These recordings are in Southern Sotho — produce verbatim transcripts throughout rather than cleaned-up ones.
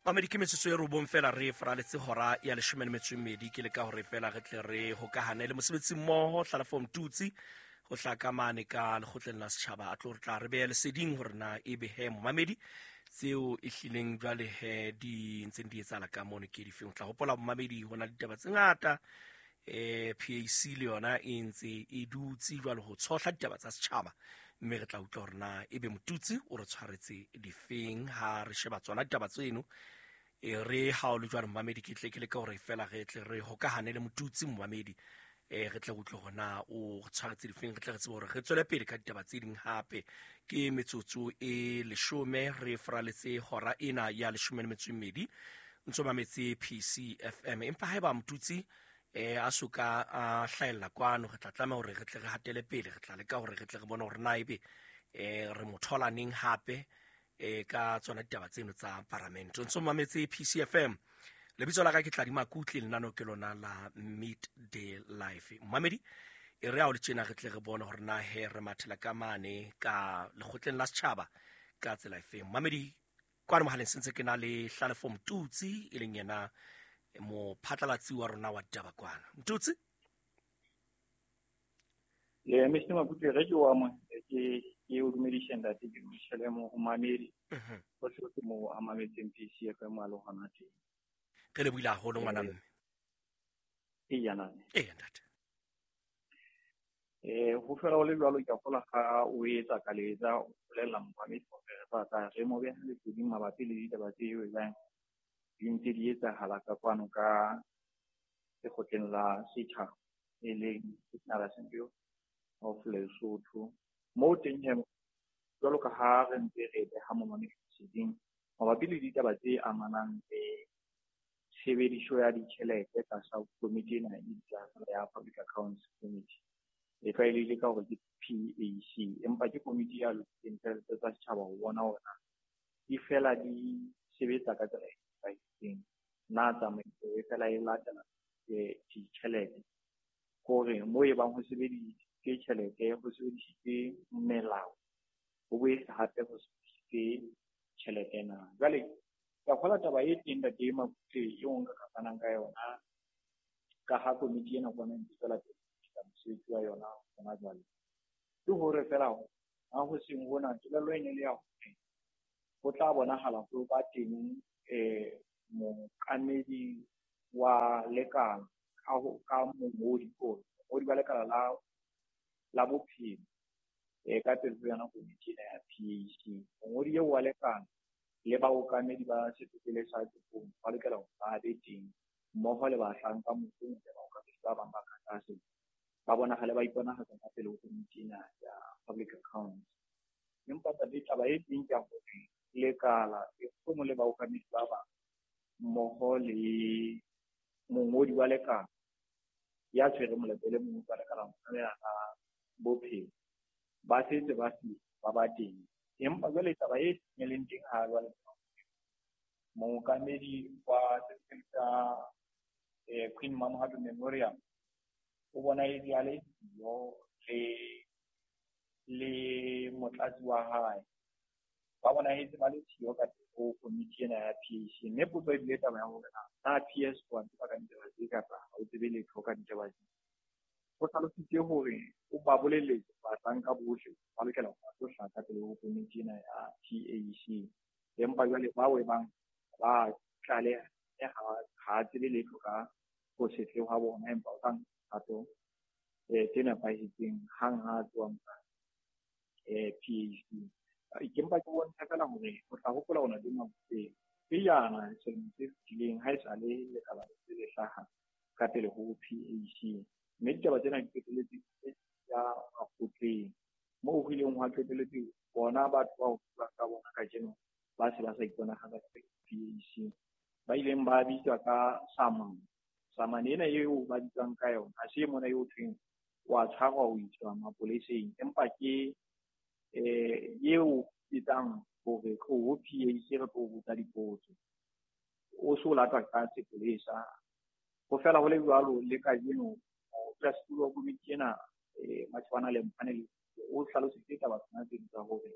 Mamedi, ke metsotso e robong fela re faraletse hora ya leshome le metso e mmedi. Ke leka hore fela re tle re hokahane le mosebetsi mmoho Hlalefo Mtutsi ho hlaka mane ka lekgotleng la setjhaba, a tlo re tla re beha leseding hore na ebe he momamedi tseo e hlileng jwale he di ntseng di etsahala ka mono ke difeng. O tla hopola momamedi ho na le ditaba tse ngata, eh P A C le yona e ntse e dutse jwale ho tshohla ditaba tsa setjhaba, mme re tla utlwa hore na ebe Motutsi o re tshwaretse difeng ha re sheba tsona ditaba tseno. E re ha o le jwalo momamedi, ke tle ke leka hore fela re tle re hokahane le Motutsi momamedi, eh re tle re utlwe hore na o re tshwaretse difeng, re tle re tsebe hore re tswele pele ka ditaba tse ding hape. Ke metsotso e leshome re faraletse hora ena ya leshome le metso e mmedi, ntso mametse P C F M. Empa haeba Motutsi eh a soka a hlahella kwano, re tla tlameha hore re tle re hatele pele, re tla leka hore re tle re bone hore na ebe eh re mo thola neng hape eh ka tsona ditaba tseno tsa paramente. Ntso mametse P C F M, lebitso la ka ke Tladi Makutle, lenaneo ke lona la Midday Life. Mamedi, e re ha o le tjena re tle re bone hore na he re mathela ka mane ka lekgotleng la setjhaba ka tsela efeng. Mamedi, kwano mohaleng sentse ke na le Hlalefo Mtutsi, e leng yena mophatlalatsi wa rona wa ditaba kwana. Mtutsi? Le Mister Makutle, re ke wa mo ke ke o dumedise ntate, ke dumedise le mo mamedi. Mhm. Ho se ke mo a mametseng P C F M a le hona teng. Re lebohile haholo ngwana mme. Ee, yana. Ee, ntate. Eh, ho fela ho le jwalo, ke a kgolwa ha o etsa ka letsa, o bolella momamedi hore re tla re mo beha leseding mabapi le ditaba tse ebang di ntse di etsahala ka kwano ka lekgotleng la setjhaba, e leng National Assembly of Lesotho. Moo teng he, jwalo ka ha re ntse re beha momamedi leseding mabapi le ditaba tse amanang le tshebediso ya ditjhelete tlasa komiti ena e bitswang ya Public Accounts Committee, e tlwaelehile ka hore ke P A C, empa ke komiti ya lokisitseng tjhelete tsa setjhaba ho bona hore na di fela di sebetsa ka tsela e nepahetseng, na tsamaiso e fela e latela, eh, ditjhelete, hore moo e bang ho sebedisitswe tjhelete, ho sebedisitswe melao, ho boetse hape ho sebedisitswe tjhelete na. Jwale ke a kgolwa taba e teng ntate Makutle eo nka ka fanang ka yona, ka ha komiti ena kwana e ntse tswela pele ka mosebetsi wa yona hona jwale, ke hore fela ha ho seng hona kelello e ne le ya hore ho tla bonahala ho ba teng, eh, mookamedi wa lekala ka ho, ka mongodi o, mongodi wa lekala la, la bophelo, eh, ka pele ho yona komiti ena ya P A C. Mongodi eo wa lekala le baokamedi ba sepetlele sa Tshekong ba lokela hore ba be teng mmoho le bahlanka mohlomong le baokamedi ba bang ba ka tlase, ba bonahale ba iponahatsa ka pele ho komiti ena ya Public Accounts. Empa taba e teng ke ya hore lekala mohlomong le baokamedi ba bang mmoho le mongodi wa lekala ya tshwereng molato le mongodi wa lekala la bophelo ba setse ba se ba ba teng. Empa jwale taba e leng teng ha jwale, mookamedi wa sepetlele sa, eh, Queen Mamohato Memorial o bona e le a le siyo le, le motlatsi wa hae, ba bonahetse ba le siyo ka teng ho komiti ena ya P A C. Mme potso e bile taba ya hore na, na P S wa tseba ka ditaba tse kapa ha o tsebe letho ka ditaba tse. Ho hlalositse hore o ba bolelletse bahlanka bohle ba lokela ho tlo hlaka pele ho komiti ena ya P A C. Empa jwale bao e bang ba tlaleha ha, ha tsebe letho ka ho se tle hwa bona, empa o tla nka kgato, eh, tse nepahetseng hang ha a tloha mona, eh, P A C. Ke mpa ke bontsha fela hore o tla hopola hona le Makutle pejana selemo se fetileng ha esale lekala le le hlaha ka pele ho P A C. Mme ditaba tsena di qetelletse ya makgotleng, moo ho ileng hwa qetelletse bona batho bao ho buang ka bona kajeno ba se ba sa iponahatsa ka pele ho P A C, ba ileng ba bitswa ka samane. Samane ena eo ba bitswang ka yona ha se mona eo thweng wa tshwarwa ho iswa mapoleseng, empa ke, eh, eo etsang hore tlo ho P A C re tlo botsa dipotso, o so latwa ka sepolesa. Ho fela ho le jwalo le kajeno modulasetulo wa komiti ena, eh, Matshwana le Mpane, o hlalositse taba tsena tse tsa hore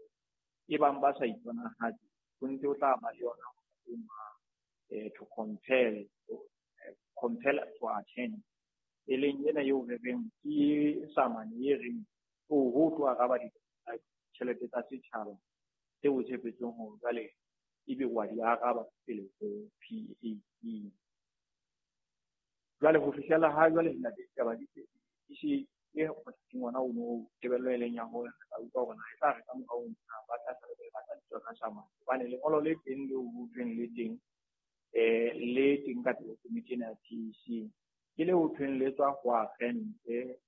e bang ba sa iponahatse ho ntse ho tla ba le yona eh, to compel eh, compel to attend, e leng ena eo re reng ke samane e reng o ho tlo araba ditjhelete tsa setjhaba tseo o tshepetseng hore jwale ebe wa di araba pele ho P A C. Jwale ho fihlela ha jwale ditaba di se e ngwana o no tebello e leng ya hore re tla utlwa hore na e tla re ka morao ba tla sala ba tla tswa ka samane, hobane lengolo le teng leo ho thweng le teng eh le teng ka pele komiti ena ya P A C ke le ho thweng le tswa ho agente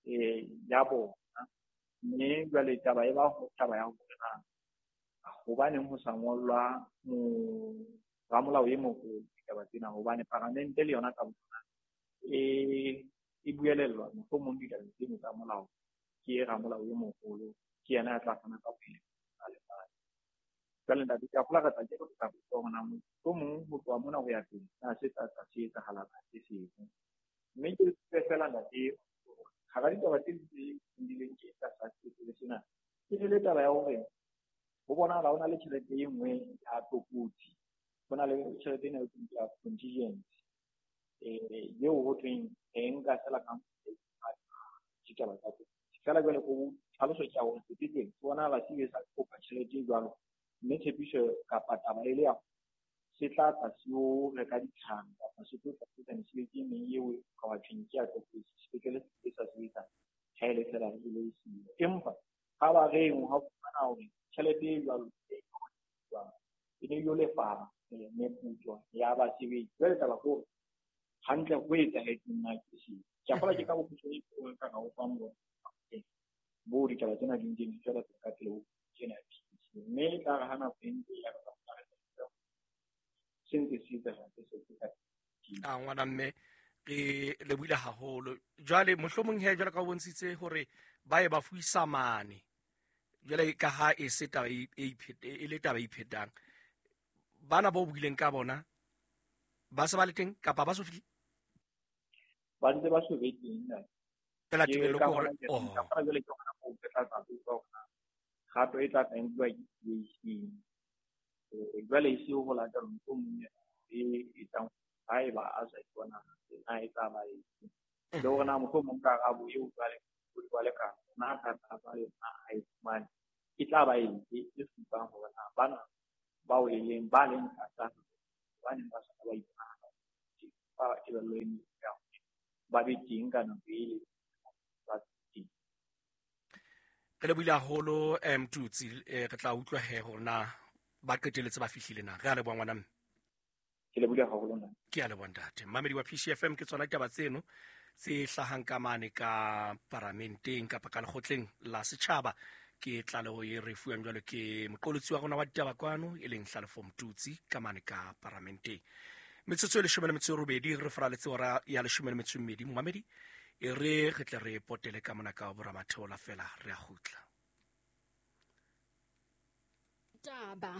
eh ya bona. Mme jwale taba e ba ho taba ya hore na hobaneng ho sa ngollwa mo ramolao e moholo ditaba tsena, hobane paramente le yona ka boyona e e buelellwa mohlomong ditabeng tseno tsa molao ke ramolao e moholo, ke yena ya tla fana ka pele a lefatshe. Jwale ntate, ke a kgolwa re tla ke re tla botsa hore na mohlomong ho tloha mona ho ya pele na se tla tla se etsahala ka se seng. Mme ke tsebe fela ntate, hara ditaba tse ding tse bileng ke tlasa sepetlele sena, ke le taba ya hore ho bonahala ho na le tjhelete e nngwe ya tlokotsi, ho na le tjhelete ena e thweng ke ya contingency eh eo ho thweng e nka fela ka ditaba tsa teng. Fela jwale ho tlhaloso ke ya hore sepetlele se bonahala se ile sa kopa tjhelete e jwalo, mme tshepiso kapa taba e le ya se tla tla se yo reka ditlhare kapa se tlo tla etsa mesebetsi e meng eo ka wa thweng ke ya tlokotsi, sepetlele se sa sebetsa ha e le fela e le siyo. Empa kgabareng ha fumana hore tjhelete e jwalo e ne yo lefa meputso ya basebetsi. Jwale taba ke hore hantle ho etsahetseng na ke seo. Ke a kgolwa ke ka bokgutshwane bo ka ka o fang bona bo ditaba tsena di ntse di tswela pele ka pele ho tsena P A C. Mme e tla re ha nako e ntse e ya re tla re se ntse se etsahala se se ka a ngwana mme re lebohile haholo. Jwale mohlomong he jwale ka o bontshitse hore ba ye ba fuisa mane, jwale ka ha e se taba e e le taba e iphetang, bana bo buileng ka bona ba se ba le teng kapa ba so fihle? Ba ntse ba so be teng na. Fela tebello ke hore oh ka jwale ke hona moo re tla tla utlwa hore kgato e tla tla nkuwa ke P A C. Eh jwale e se ho latela mohlomong e etsang haeba a sa ipona na e tla ba e le hore na mohlomong karabo eo jwale o jwale ka na ka tla yona ha e fumane e tla ba eng e supang hore na bana bao e leng ba leng tlasa hobaneng ba sa ba ipona ba tebello e ya ba be teng ka nako e ba teng. Re lebohile haholo Mtutsi, re tla utlwa he hore na ba qetelletse ba fihlile na. Re a leboha ngwana mme. Ke lebohile haholo nna. Ke a leboha ntate. Mmamedi wa P C F M, ke tsona ditaba tseno tse hlahang ka mane ka paramenteng kapa ka lekgotleng la setjhaba. Ke tlaleho e re fuwang jwalo ke moqolotsi wa rona wa ditaba kwano e leng Hlalefo Mtutsi ka mane ka paramenteng. Metsotso e leshome le metso e robedi re faraletse hora ya leshome le metso e mmedi. Momamedi e re re tle re potele ka mona ka boramatheola fela re a kgutla. Taba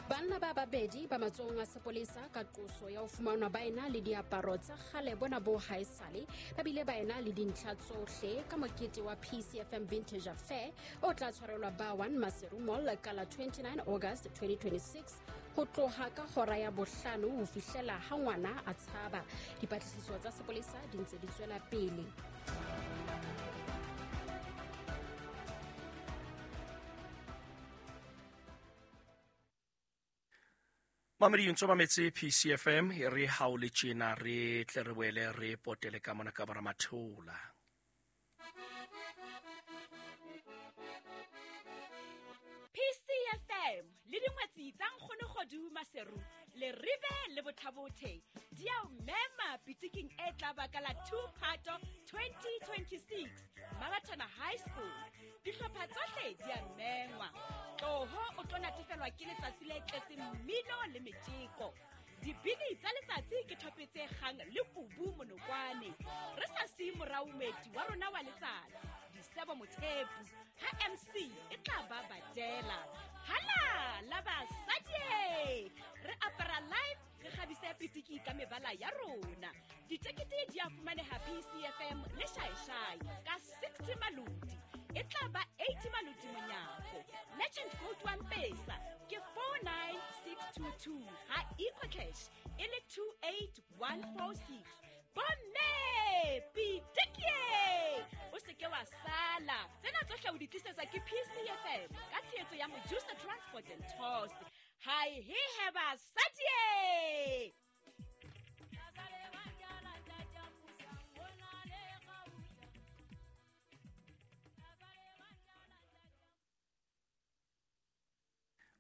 Banna ba babedi ba matsohong a sepolesa ka qoso ya ho fumanwa ba ena le diaparo tsa kgale bona bo haesale, ba bile ba ena le dintlha tsohle ka mokete wa P C F M Vintage Affair o tla tshwarelwa ba one Maseru Mall ka la twenty-nine August twenty twenty-six ho tloha ka hora ya bohlano ho fihlela ha ngwana a tshaba. Dipatlisiso tsa sepolesa di ntse di tswela pele. Mamedi ntse mametse P C F M e re ha o le tjena re tle re boele re potele ka mona ka boramatheola. P C F M le dingwetsi tsa Nkgonogodu Maseru le Rive le Bothabothe di a o mema pitiking e tla ba ka la two Phato twenty twenty-six Mabatana High School. Dihlopha tsohle di a mengwa. Tloho o tlo natefelwa ke letsatsi le tletseng mmino le metjeko. Dibini tsa letsatsi ke thope tse kgang le kubu monokwane. Re sa siye morao moeti wa rona wa letsatsi, Disebo Mothepu, ha M C e tla ba badela. Hala la basadi! Re apara live, re kgabise pitiki ka mebala ya rona. Ditekete di a fumaneha P C F M le Shaishai ka sixty maloti. E tla ba eighty maloti monyako. Legend Gold One Pesa ke two ha EcoCash e le two eight one four six. Bomme pitikie, o se ke wa sala. Tsena tsohle o di tlisetsa ke P C F M ka tshehetso ya Mojusa Transport and Tours. Hai he heba sadie.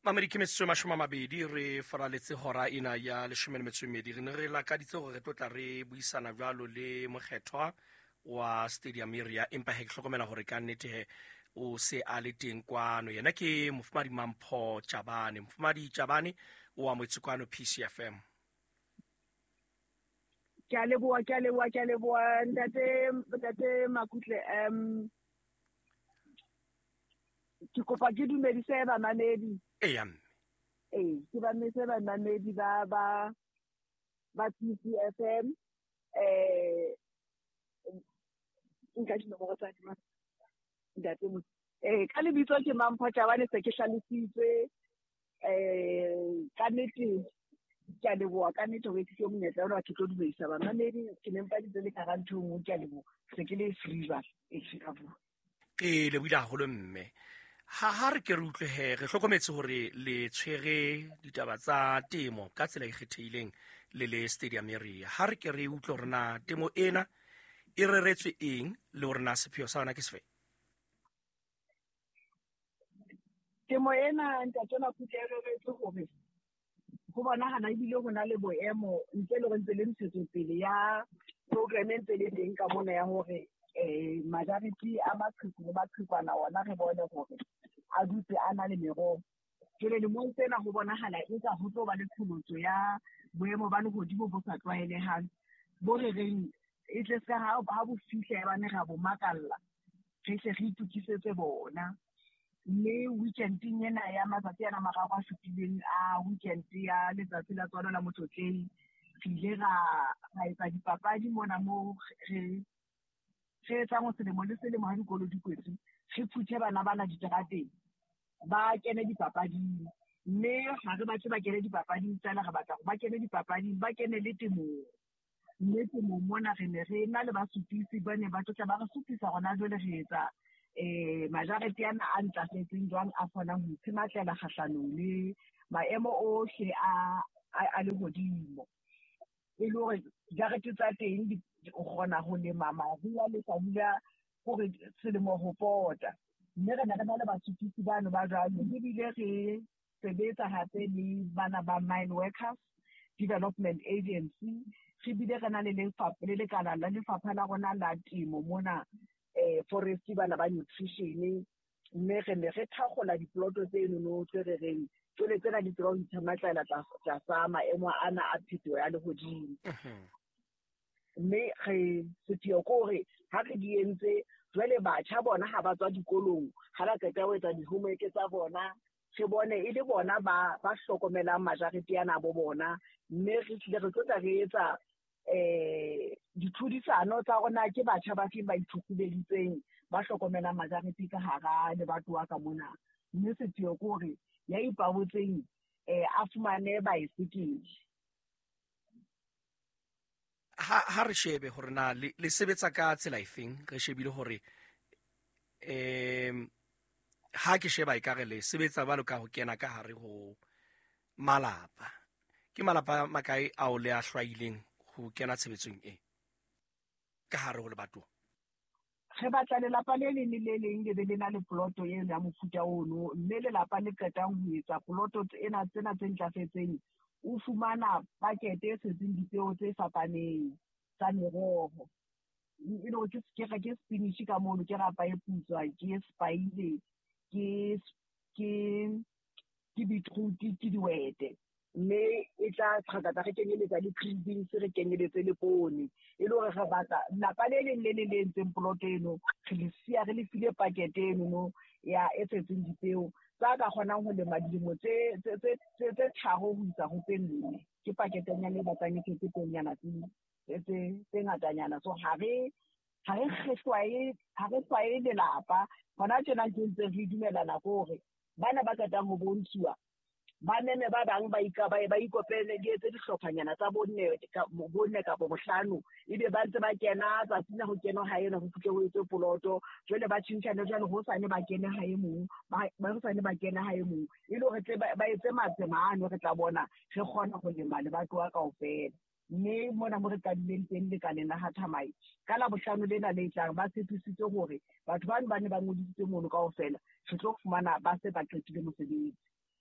Mamedi ke metsotso e mashome a mabedi re faraletse hora ena ya leshome le metso e mmedi. Re ne re lakaditse hore re tlo tla re buisana jwalo le mokgethwa wa Stadium Area, empa he ke hlokomela hore ka nnete he o se a le teng kwano. Yena ke Mofumadi Mampho Chabane. Mofumadi Chabane o amohetse kwano P C F M. Ke a leboha, ke a leboha, ke a leboha ntate, ntate Makutle. Um ke kopa ke dumedise bamamedi. Eya mme. Ee, ke bametse bamamedi ba ba ba P C F M. Eh nka dinomoro tsa ka ntate mo. Eh ka lebitso ke Mampho Chabane, se ke hlalositswe. Eh ka nnete ke a leboha, ka nnete hore ke fiwe monyetla ona ke tlo dumedisa bamamedi. Ke ne mpa ditse le ka hara ntho e nngwe, ke a leboha. Se ke le free jwale, e ka bua. Ke lebohile haholo mme. Ha ha re ke re utlwe he, re hlokometse hore le tshwere ditaba tsa temo ka tsela e kgethehileng le le Stadium Area. Ha re ke re utlwe hore na temo ena e reretswe eng le hore na sepheo sa yona ke sefe? Temo ena ntate Makutle e reretswe hore ho bonahala ebile ho na le boemo ntle le hore ntse le ntshetsopele ya program e ntse le teng ka mona ya hore eh majority a maqheku le maqhekwana ona re bone hore a dutse a na le meroho. Jwale lemong tsena ho bonahala eka ho tlo ba le qholotso ya boemo ba lehodimo bo sa tlwaelehang bo re reng e tle ska ha ha bo fihla ya bane ra bo makalla, re hle re itokisetse bona. Mme weekending ena ya matsatsi ana mararo a fetileng a weekend ya letsatsi la tswalo la Motlotleng, re ile ra ra etsa dipapadi mona moo re re etsang selemo le selemo ha dikolo di kwetswe, re phuthe bana bana diterateng ba kene dipapading. Mme ha re batle ba kene dipapading fela, re batla ba kene dipapading, ba kene le temong. Mme temong mona re ne re na le basupisi ba ne ba tlotla ba re supisa hona jwale re etsa eh majarete ana a ntlafetseng jwang a kgonang ho itshematlela kgahlanong le maemo ohle a a lehodimo. E le hore jarete tsa teng di o kgona ho lema mariha le hlabula hore selemo ho pota. Mme re ne re na le basupisi bano ba jwalo, ebile re sebetsa hape le bana ba Mine Workers Development Agency. Re bile re na le lefapha le lekala la lefapha la rona la temo mona eh forestry bana ba nutrition. Mme re ne re thakgola diploto tseno tse re reng tswele tsena di tseba ho itshematlela tlasa maemo ana a phetoho ya lehodimo. Mme re sepheo ke hore ha re di entse jwale batjha bona ha ba tswa dikolong, ha ba qeta ho etsa di-homework tsa bona, re bone e le bona ba ba hlokomelang majarete ana bo bona. Mme re tlile re tlotla re etsa eh ditlhodisano tsa rona ke batjha ba feng ba ithukhubeditseng ba hlokomelang majarete ka hara lebatowa ka mona. Mme sepheo ke hore ya ipabotseng eh a fumane baesekele. Ha ha re shebe hore na le, le sebetsa ka tsela efeng, re shebile hore em ha ke sheba ekare le sebetsa jwalo ka ho kena ka hare ho malapa. Ke malapa makae ao le a hlwaileng ho kena tshebetsong e ka hare ho lebatowa? Re batla lelapa le leng le le leng le be le na le ploto eno ya mofuta ono, mme lelapa le qetang ho etsa ploto ena tsena tse ntlafetseng o fumana pakete e tshetseng dipeo tse fapaneng tsa meroho. E le hore ke ke ke spinach ka mono, ke rapa e putswa, ke spaile, ke ke ke beetroot, ke dihwete. Mme e tla qhakatsa re kenyeletsa le green beans, re kenyeletse le poone. E le hore re batla lapa le leng le le le entseng ploto eno, re le siya re le file pakete eno ya e tshetseng dipeo tsa ka kgonang ho lema dilemo tse tse tse tse tharo ho isa ho tse nne. Ke paketenyana e batlang e tshetse peonyana tse tse tse ngatanyana. So ha re ha re hlwaye ha re hlwaye lelapa hona tjena ke ntse re dumelana hore bana ba qetang ho bontshuwa Ba meme ba bang ba ika ba ba ikopele di etse dihlophanyana tsa bonne bonne kapa bohlano, ebe ba ntse ba kena tsatsing la ho kena ha ena ho fihle ho etswe poloto. Jwale ba tjhentjhane jwale hosane ba kene ha e mong, ba hosane ba kene ha e mong, e le hore tle ba etse matsema ano re tla bona re kgona ho lema lebatowa kaofela. Mme mona mo re qadileng teng lekaleng la ha Thamai ka la bohlano lena le tlang, ba tshepisitse hore batho bano ba ne ba ngodisitse mono kaofela re tlo fumana ba se ba qetile mosebetsi.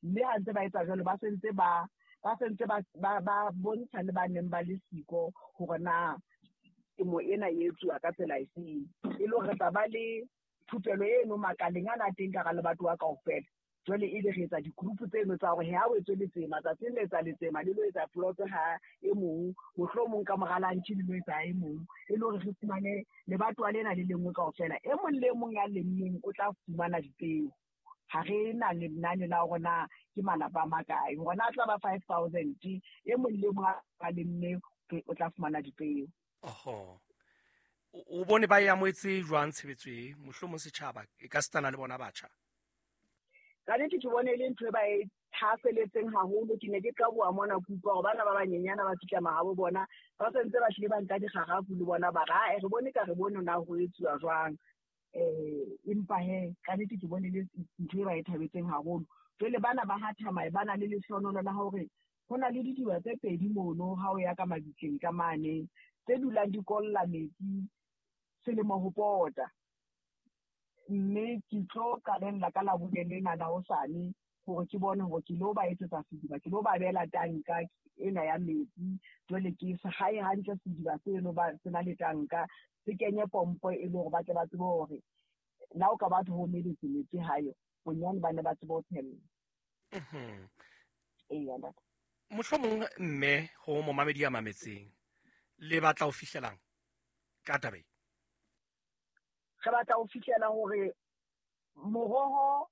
Mme ha ntse ba etsa jwalo, ba sentse ba ba sentse ba ba bontsha le ba neng ba le siko hore na temo ena e etsuwa ka tsela efeng, e le hore re tla ba le thupelo eno makaleng ana teng ka hara lebatowa kaofela. Jwale ebe re etsa di-group tseno tsa hore ha o etswe letsema tsatsing le etsa letsema le lo etsa plot ha e mong, mohlomong ka mora lunch le lo etsa e mong, e le hore re fumane lebatowa lena le lengwe kaofela. E mong le mong ya lemmeng o tla fumana dipeo. Ha re na lenane la hore na ke malapa a makae, hore na tla ba five thousand, e mong le mong a lemme o tla fumana dipeo. Oho, o bone ba e amohetse jwang tshebetso e? Mohlomong setjhaba e ka sitana le bona batjha. Ka nnete ke bone e le ntho e ba e thahaseletseng haholo. Ke ne ke qaboha mona ke utlwa hore bana ba banyenyana ba fihla mahabo bona ba sentse ba hlile ba nka dikgarafu le bona ba re, ae re bone ka re bone na ho etsuwa jwang. Eh, empa he ka nnete ke bone le ntho e ba e thabetseng haholo. Jwale bana ba ha Thamai ba na le lehlohonolo la hore ho na le didiba tse pedi mono ha o ya ka mabitleng ka mane, tse dulang di kolla metsi selemo ho pota. Mme ke tlo qalella ka Labone lena la hosane hore ke bone hore ke lo ba etsetsa sediba, ke lo ba beela tanka ena ya metsi. Jwale ke se hae hantle sediba seno ba se na le tanka, se kenye pompo e le hore ba tle ba tsebe hore la o ka batho ho meletse metsi hayo, bonyane ba ne ba tsebe ho tshella. Mhm. Eya, ntate. Mohlomong mme ho momamedi ya mametseng le batla ho fihlelang ka taba e? Re batla ho fihlela hore moroho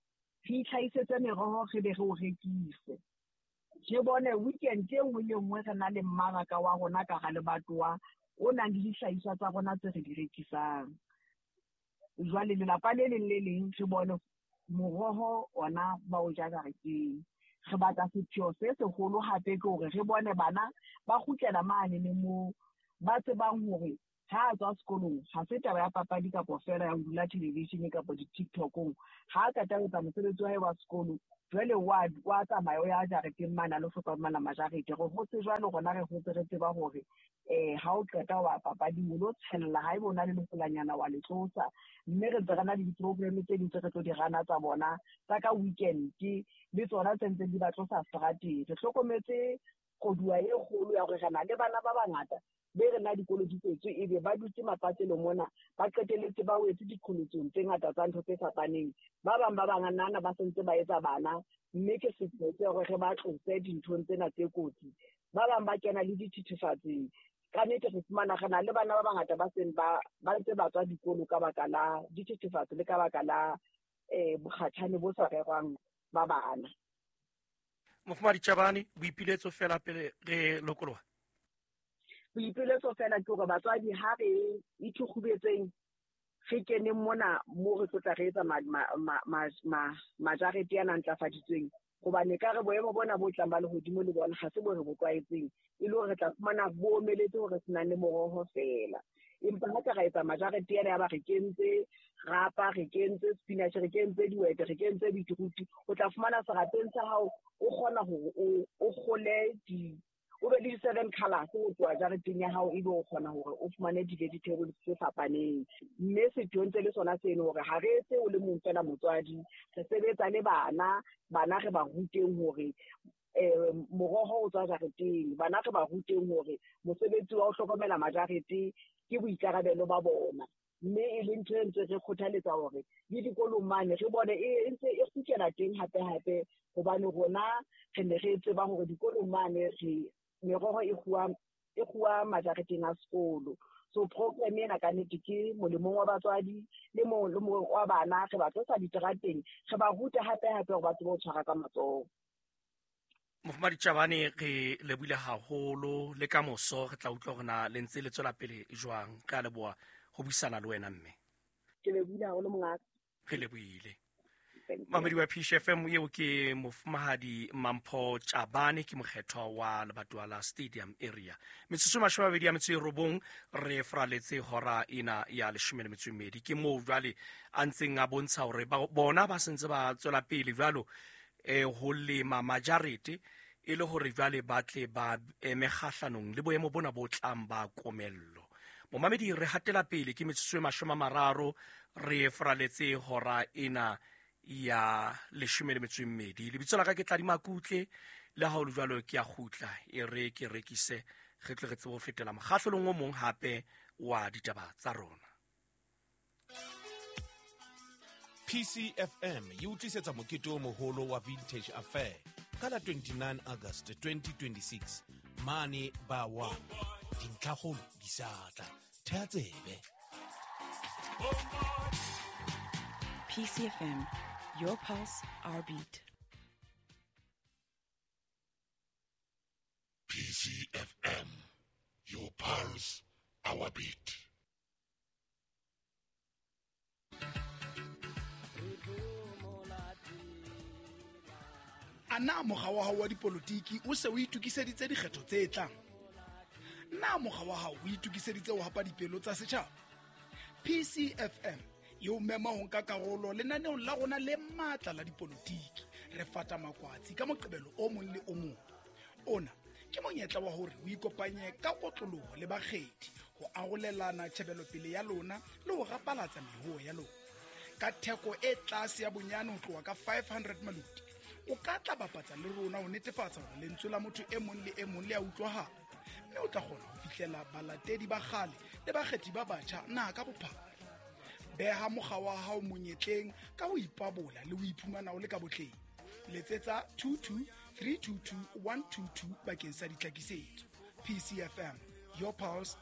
re itlhahisetse meroho re be re o rekise. Re bone weekend e nngwe le nngwe re na le mmaraka wa rona ka hara lebatowa o nang le dihlahiswa tsa rona tse re di rekisang. Jwale lelapa le leng le leng re bone moroho ona ba o ja jareteng. Re batla sepheo se seholo hape ke hore re bone bana ba kgutlela mane le moo ba tsebang hore ha a tswa sekolong ha se taba ya papadi kapa feela ya ho dula television kapa di-TikTok-ong. Ha a qeta ho etsa mosebetsi wa hae wa sekolo, jwale wa wa tsamaya o ya jareteng mane a lo hlokomela majarete. Re hotse jwalo rona, re hotse re tseba hore eh ha o qeta wa papading o lo tshella, haeba o na le lefolanyana wa le tlosa. Mme re ntse re na le di-program tse ding tse re tlo di rana tsa bona tsa ka weekend, le tsona tse ntseng di ba tlosa seterateng. Re hlokometse koduwa e kgolo ya hore re na le bana ba bangata be re na dikolo di tswetswe, ebe ba dutse mapatlelong mona, ba qetelletse ba wetse diqholotsong tse ngata tsa ntho tse fapaneng. Ba bang ba banganana ba sentse ba etsa bana, mme ke sepheo se hore re ba tlose dinthong tsena tse kotsi. Ba bang ba kena le dithethefatsing. Ka nnete re fumana re na le bana ba bangata ba seng ba ba ntse ba tswa dikolo ka baka la dithethefatsi le ka baka la eh bokgatjhane bo sa rerwang ba bana. Mofumahadi Chabane, boipiletso fela pele re lokoloha. Boipiletso fela ke hore batswadi ha re ithukgubetseng re keneng mona mo re tlo tla re etsa majarete ana a ntlafaditsweng, hobane ka re boemo bona bo tlang ba lehodimo le bona ha se bo re bo tlwaetseng, e le hore re tla fumana bo omeletse hore se nang le moroho feela. Empa ha ka ra etsa majarete ana ya ba re kentse rapa, re kentse spinach, re kentse dihwete, re kentse beetroot, o tla fumana serapeng sa hao o kgona hore o o kgole di o be le di-seven colours ho tloha jareteng ya hao, ebe o kgona hore o fumane di-vegetables tse fapaneng. Mme sepheo ntse le sona seno hore ha re etse o le mong feela motswadi, re sebetsa le bana. Bana re ba ruteng hore eh moroho o tswa jareteng, bana re ba ruteng hore mosebetsi wa ho hlokomela majarete ke boikarabelo ba bona. Mme e le ntho e ntse re kgothaletsa hore le dikolong mane re bone e ntse e kgutlela teng hape-hape, hobane rona re ne re tseba hore dikolong mane re meroho e kguwa e kguwa majareteng a sekolo. So program ena ka nnete ke molemong wa batswadi le molemong wa bana. Re ba tlosa diterateng, re ba ruta hape-hape hore ba tsebe ho tshwara ka matsoho. Mofumahadi Chabane, re lebohile haholo, le ka moso re tla utlwa hore na le ntse le tswela pele jwang. Re a leboha ho buisana le wena mme. Ke lebohile haholo mongaka. Re lebohile. Thank you. Mamedi wa P C F M, eo ke mofumahadi Mampho Chabane, ke mokgethwa wa lebatowa la Stadium area. Metsotso e mashome a mabedi a metso e robong re fraletse hora ena ya leshome le metso e mmedi. Ke moo jwale a ntseng a bontsha hore ba bona ba sentse ba tswela pele jwalo eh ho lema majarete e le hore jwale ba tle ba eme kgahlanong le boemo bona bo tlang ba komello. Momamedi, re hatela pele ke metsotso e mashome a mararo re fraletse hora ena ya leshome le metso e mmedi. Lebitso la ka ke Tladi Makutle, le ha ho le jwalo ke a kgutla e re ke rekise re tle re tsebe ho fetela mokgahlelong o mong hape wa ditaba tsa rona. P C F M e o tlisetsa mokete o moholo wa Vintage Affair ka la twenty-nine August twenty twenty-six mane ba wa dintlhakgolo di sa tla. Theha tsebe. P C F M, your pulse, our beat. P C F M, your pulse, our beat. A na mokga wa hao wa dipolotiki o se o itokiseditse dikgetho tse tlang? Na mokga wa hao o itokiseditse ho hapa dipelo tsa setjhaba? P C F M e o mema ho nka karolo lenaneong la rona le matla la dipolotiki. Re fata makwatsi ka Moqebelo o mong le o mong. Ona ke monyetla wa hore o ikopanye ka kotloloho le bakgethi ho arolelana tjhebelopele ya lona le ho rapalatsa mehoo ya lona. Ka theko e tlase ya bonyane ho tloha ka five hundred maluti, o ka tla bapatsa le rona ho netefatsa hore lentswe la motho e mong le e mong le a utlwahala, mme o tla kgona ho fihlela balatedi ba kgale le bakgethi ba batjha naha ka bophara. Beha mokga wa hao monyetleng ka ho ipabola le ho iphumana o le ka botleng. Letsetsa two two three two two one two two bakeng sa ditlhakisetso. P C F M, your pulse,